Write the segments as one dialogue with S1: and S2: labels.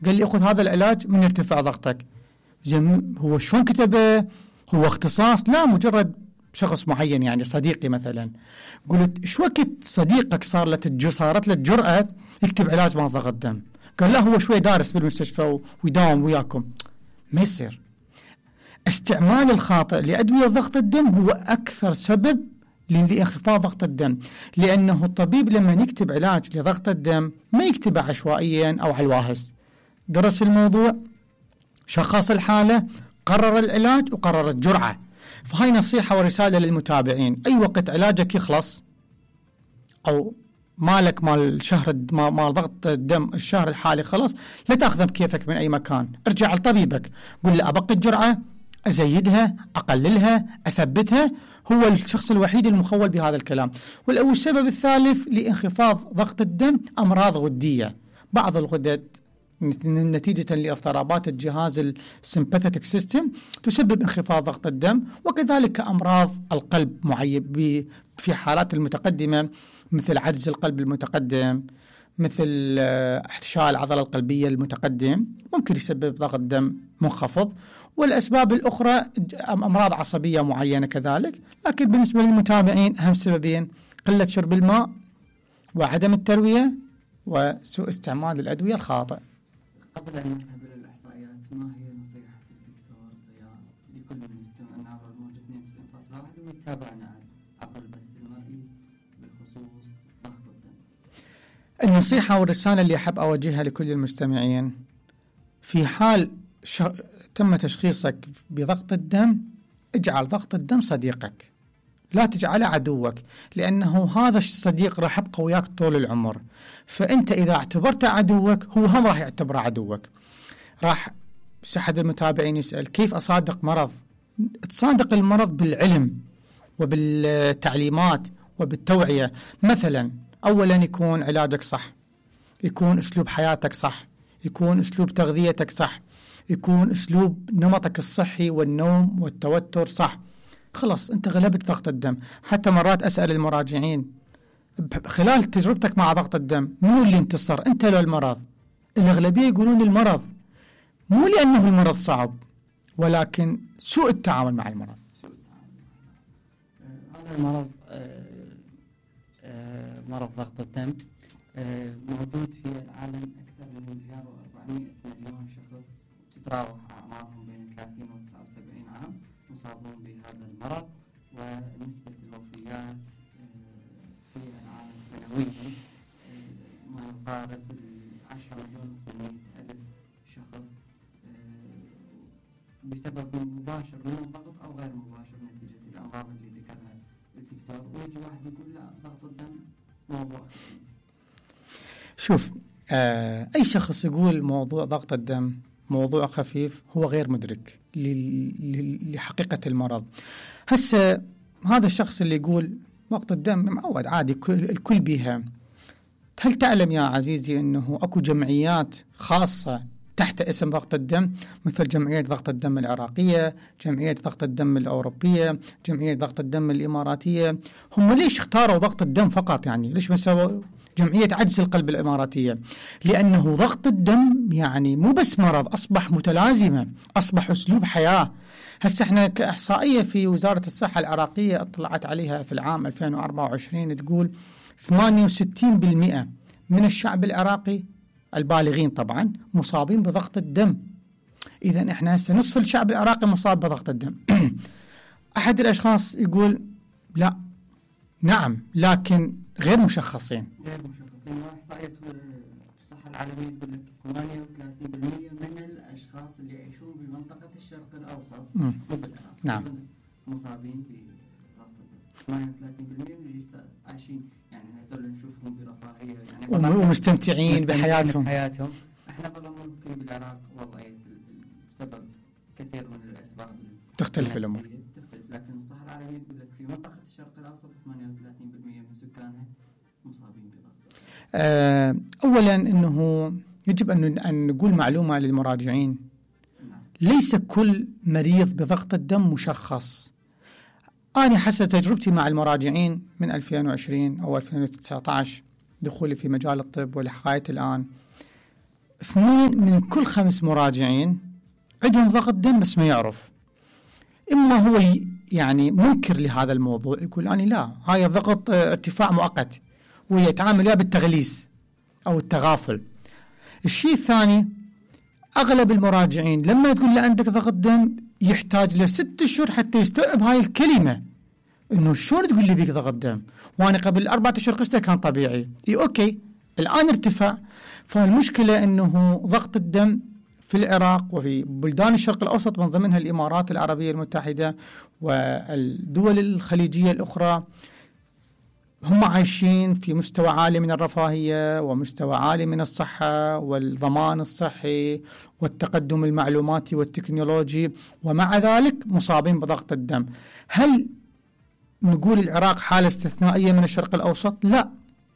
S1: قال لي خذ هذا العلاج من يرتفع ضغطك. زين هو شلون كتبه؟ هو اختصاص؟ لا، مجرد شخص معين يعني صديقي مثلا. قلت ايش وقت صديقك صارت له الجرأة يكتب علاج مال ضغط دم؟ قال لا هو شوي دارس بالمستشفى ويداوم وياكم. ما يصير. استعمال الخاطئ لأدوية ضغط الدم هو أكثر سبب لانخفاض ضغط الدم، لأنه الطبيب لما يكتب علاج لضغط الدم ما يكتبه عشوائيا أو على الواهس، درس الموضوع، شخص الحالة، قرر العلاج وقرر الجرعة. فهاي نصيحة ورسالة للمتابعين، أي وقت علاجك يخلص أو مالك مال شهر مال ضغط الدم الشهر الحالي خلص، لا تأخذه بكيفك من أي مكان، ارجع لطبيبك قل له أبقي الجرعة، أزيدها، أقللها، أثبتها. هو الشخص الوحيد المخول بهذا الكلام. والسبب الثالث لانخفاض ضغط الدم أمراض غدية. بعض الغدد نتيجة لاضطرابات الجهاز السمباثيتك سيستم تسبب انخفاض ضغط الدم، وكذلك أمراض القلب معيب في حالات المتقدمة مثل عجز القلب المتقدم، مثل احتشاء العضلة القلبية المتقدم، ممكن يسبب ضغط دم منخفض. والأسباب الأخرى أمراض عصبية معينة كذلك. لكن بالنسبة للمتابعين أهم سببين قلة شرب الماء وعدم التروية وسوء استعمال الأدوية الخاطئ.
S2: قبل أن نذهب إلى الإحصائيات، ما هي نصيحة الدكتور ضياء لكل من يستمعنا عبر الموجة 92.1 ويتابعنا عبر البث المرئي بخصوص ضغط الدم؟
S1: النصيحة والرسالة اللي أحب أوجهها لكل المستمعين: في حال تم تشخيصك بضغط الدم، اجعل ضغط الدم صديقك، لا تجعله عدوك، لأنه هذا الصديق راح يبقى وياك طول العمر. فأنت إذا اعتبرته عدوك هو هم راح يعتبره عدوك. راح أحد المتابعين يسأل كيف أصادق مرض؟ تصادق المرض بالعلم وبالتعليمات وبالتوعية. مثلا أولا يكون علاجك صح، يكون أسلوب حياتك صح، يكون أسلوب تغذيتك صح، يكون أسلوب نمطك الصحي والنوم والتوتر صح. خلص أنت غلبت ضغط الدم. حتى مرات أسأل المراجعين خلال تجربتك مع ضغط الدم منو اللي انتصر، أنت لو المرض؟ الأغلبية يقولون المرض، مو لأنه المرض صعب ولكن سوء التعامل مع المرض.
S2: هذا المرض مرض ضغط الدم موجود في العالم أكثر من 1.4 مليون شخص، تتراوح أعمارهم بين 30 و 79 عام مصابون بهذا المرض، ونسبة الوفيات في العالم سنويا ما يقارب 10,800,000 شخص بسبب مباشر من الضغط أو غير مباشر نتيجة الأمراض اللي ذكرها الدكتور. ويجي واحد يقول لا ضغط الدم موضوع خفيف.
S1: شوف، أي شخص يقول موضوع ضغط الدم موضوع خفيف هو غير مدرك لحقيقة المرض. هسه هذا الشخص اللي يقول ضغط الدم معود عادي الكل بيها، هل تعلم يا عزيزي أنه أكو جمعيات خاصة تحت اسم ضغط الدم، مثل جمعية ضغط الدم العراقية، جمعية ضغط الدم الأوروبية، جمعية ضغط الدم الإماراتية؟ هم ليش اختاروا ضغط الدم فقط؟ يعني ليش ما سووا جمعية عجز القلب الإماراتية؟ لأنه ضغط الدم يعني مو بس مرض، أصبح متلازمة، أصبح أسلوب حياة. هسه احنا كإحصائية في وزارة الصحة العراقية اطلعت عليها في العام 2024 تقول 68% من الشعب العراقي البالغين طبعا مصابين بضغط الدم. إذن احنا هسه نصف الشعب العراقي مصاب بضغط الدم. أحد الأشخاص يقول لا، نعم، لكن غير مشخصين.
S2: وإحصائية الصحة العالمية تقول لك 38% من الأشخاص اللي يعيشون بمنطقة الشرق الأوسط مو بالعراق
S1: نعم
S2: مصابين بضغط الدم. 38% اللي لسه عايشين، يعني هذول نشوفهم برفاهية يعني
S1: ومستمتعين بحياتهم.
S2: احنا والله ممكن بالعراق وضعية بسبب كثير من الأسباب
S1: تختلف الأمور،
S2: لكن الصحة العالمية تقول لك في منطقة الشرق الأوسط 38% من سكانها مصابين بضغط.
S1: أولا أنه يجب أن نقول معلومة للمراجعين. ليس كل مريض بضغط الدم مشخص. أنا حسب تجربتي مع المراجعين من 2020 أو 2019 دخولي في مجال الطب ولحقاية الآن، 2 من كل 5 مراجعين عندهم ضغط دم بس ما يعرف. إما هو يعني منكر لهذا الموضوع، يقول أنا لا، هاي الضغط ارتفاع مؤقت، ويتعامل يا بالتغليس أو التغافل. الشيء الثاني، أغلب المراجعين لما تقول له عندك ضغط دم يحتاج له 6 أشهر حتى يستوعب هاي الكلمة، إنه شلون تقول لي بيك ضغط دم وأنا قبل 4 أشهر قسته كان طبيعي. أوكي الآن ارتفع. فالمشكلة إنه ضغط الدم في العراق وفي بلدان الشرق الأوسط من ضمنها الإمارات العربية المتحدة والدول الخليجية الأخرى، هم عايشين في مستوى عالي من الرفاهية ومستوى عالي من الصحة والضمان الصحي والتقدم المعلوماتي والتكنولوجي، ومع ذلك مصابين بضغط الدم. هل نقول العراق حالة استثنائية من الشرق الأوسط؟ لا،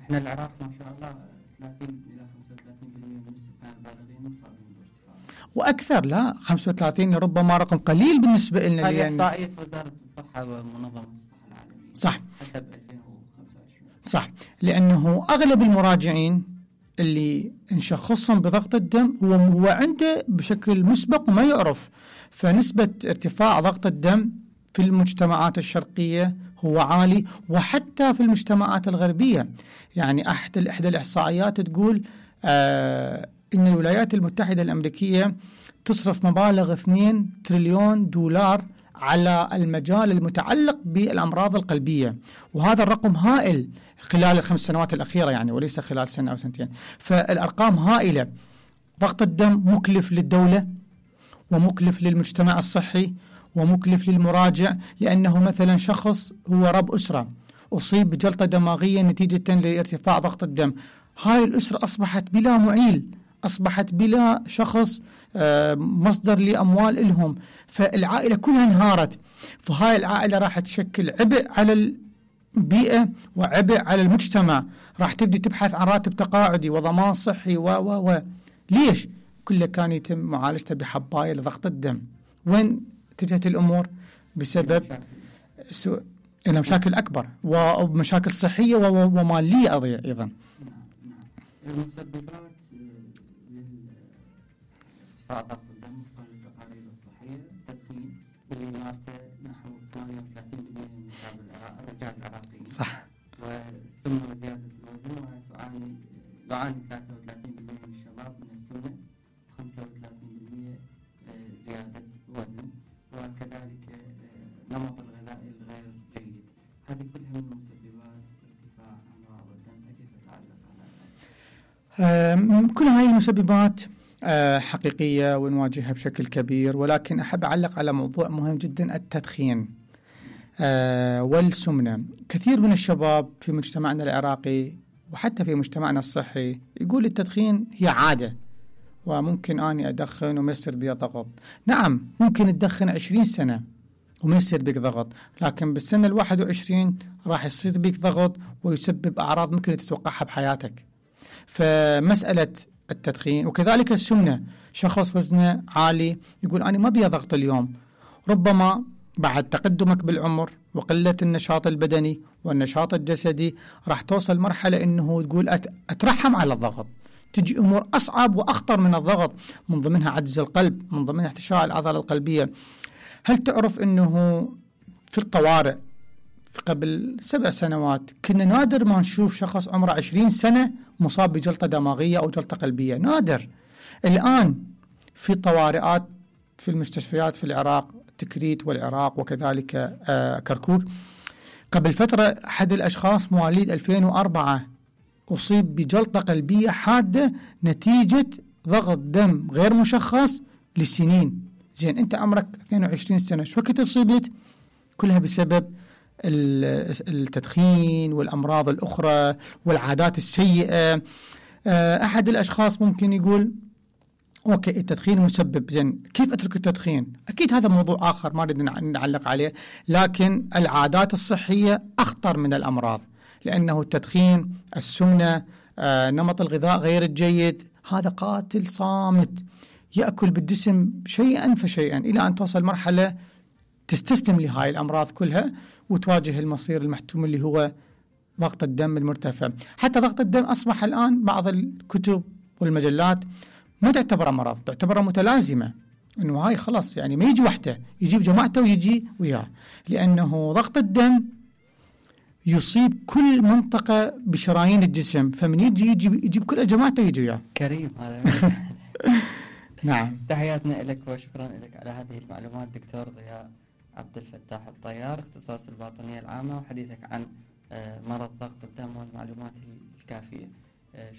S2: احنا العراق ما شاء الله 30 إلى 35% من السكان البالغين مصابين بارتفاع،
S1: وأكثر. لا 35 ربما رقم قليل بالنسبة لنا.
S2: هذه إحصائية وزارة الصحة ومنظمة الصحة العالمية
S1: صح،
S2: حسب 2025.
S1: صح، لأنه أغلب المراجعين اللي نشخصهم بضغط الدم هو عنده بشكل مسبق وما يعرف. فنسبة ارتفاع ضغط الدم في المجتمعات الشرقية هو عالي، وحتى في المجتمعات الغربية. يعني إحدى الإحصائيات تقول إن الولايات المتحدة الأمريكية تصرف مبالغ 2 تريليون دولار على المجال المتعلق بالأمراض القلبية، وهذا الرقم هائل خلال ال5 سنوات الأخيرة يعني، وليس خلال سنة أو سنتين. فالأرقام هائلة. ضغط الدم مكلف للدولة ومكلف للمجتمع الصحي ومكلف للمراجع، لأنه مثلا شخص هو رب أسرة أصيب بجلطة دماغية نتيجة لارتفاع ضغط الدم، هاي الأسرة أصبحت بلا معيل، أصبحت بلا شخص مصدر لأموال إلهم، فالعائلة كلها انهارت. فهاي العائلة راح تشكل عبء على البيئة وعبء على المجتمع، راح تبدي تبحث عن راتب تقاعدي وضمان صحي و ليش؟ كله كان يتم معالجته بحباية لضغط الدم. وين اتجهت الأمور؟ بسبب مشاكل أكبر ومشاكل صحية ومالية أيضا.
S2: المسببات لارتفاع ضغط الدم وفقا للتقارير الصحية: التدخين اللي يمارسه نحو 38% من شعب الرجال العراقيين،
S1: صح،
S2: والسمنة وزيادة الوزن، يعاني 33% من الشباب من السمنة، و35% زيادة وزن، وكذلك نمط الغذائي الغير جيد. هذه كلها من مسببات ارتفاع أمراض الدم. كيف تتعلق على
S1: كل هذه المسببات حقيقية ونواجهها بشكل كبير، ولكن أحب أعلق على موضوع مهم جدا: التدخين والسمنة. كثير من الشباب في مجتمعنا العراقي وحتى في مجتمعنا الصحي يقول التدخين هي عادة، وممكن أني أدخن وما يصير بي ضغط. نعم، ممكن تدخن 20 سنة وما يصير بك ضغط، لكن بالسنة 21 راح يصير بك ضغط ويسبب أعراض ممكن تتوقعها بحياتك. فمسألة التدخين وكذلك السمنة، شخص وزنه عالي يقول أنا ما بي ضغط اليوم، ربما بعد تقدمك بالعمر وقلة النشاط البدني والنشاط الجسدي راح توصل مرحلة إنه تقول أترحم على الضغط، تجي أمور أصعب وأخطر من الضغط، من ضمنها عجز القلب، من ضمنها احتشاء العضلة القلبية. هل تعرف أنه في الطوارئ في قبل 7 سنوات كنا نادر ما نشوف شخص عمره 20 سنة مصاب بجلطة دماغية أو جلطة قلبية، نادر. الآن في طوارئات في المستشفيات في العراق، تكريت والعراق وكذلك كركوك. قبل فترة أحد الأشخاص مواليد 2004 أصيب بجلطة قلبية حادة نتيجة ضغط دم غير مشخص لسنين. زين أنت عمرك 22 سنة، شو وقت أصيبت؟ كلها بسبب التدخين والأمراض الأخرى والعادات السيئة. أحد الأشخاص ممكن يقول أوكي التدخين مسبب، زين كيف أترك التدخين؟ أكيد هذا موضوع آخر ما نريد نعلق عليه، لكن العادات الصحية أخطر من الأمراض، لأنه التدخين، السمنة، نمط الغذاء غير الجيد، هذا قاتل صامت يأكل بالجسم شيئا فشيئا إلى أن توصل مرحلة تستسلم لهاي الأمراض كلها وتواجه المصير المحتوم اللي هو ضغط الدم المرتفع. حتى ضغط الدم أصبح الآن بعض الكتب والمجلات ما تعتبر مرض، تعتبر متلازمة، انه هاي خلاص يعني ما يجي وحده، يجيب جماعته ويجي وياه، لانه ضغط الدم يصيب كل منطقة بشرايين الجسم، فمن يجيب كل جماعته ويجي وياه.
S2: كريم هذا.
S1: نعم.
S2: تحياتنا لك وشكرا لك على هذه المعلومات دكتور ضياء عبد الفتاح الطيار، اختصاص الباطنية العامة، وحديثك عن مرض ضغط الدم والمعلومات الكافية.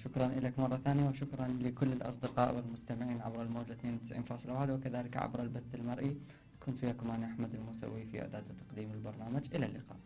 S2: شكرا لك مرة ثانية، وشكرا لكل الأصدقاء والمستمعين عبر الموجة 92.1 وكذلك عبر البث المرئي. كنت وياكم أنا أحمد الموسوي في إعداد تقديم البرنامج. إلى اللقاء.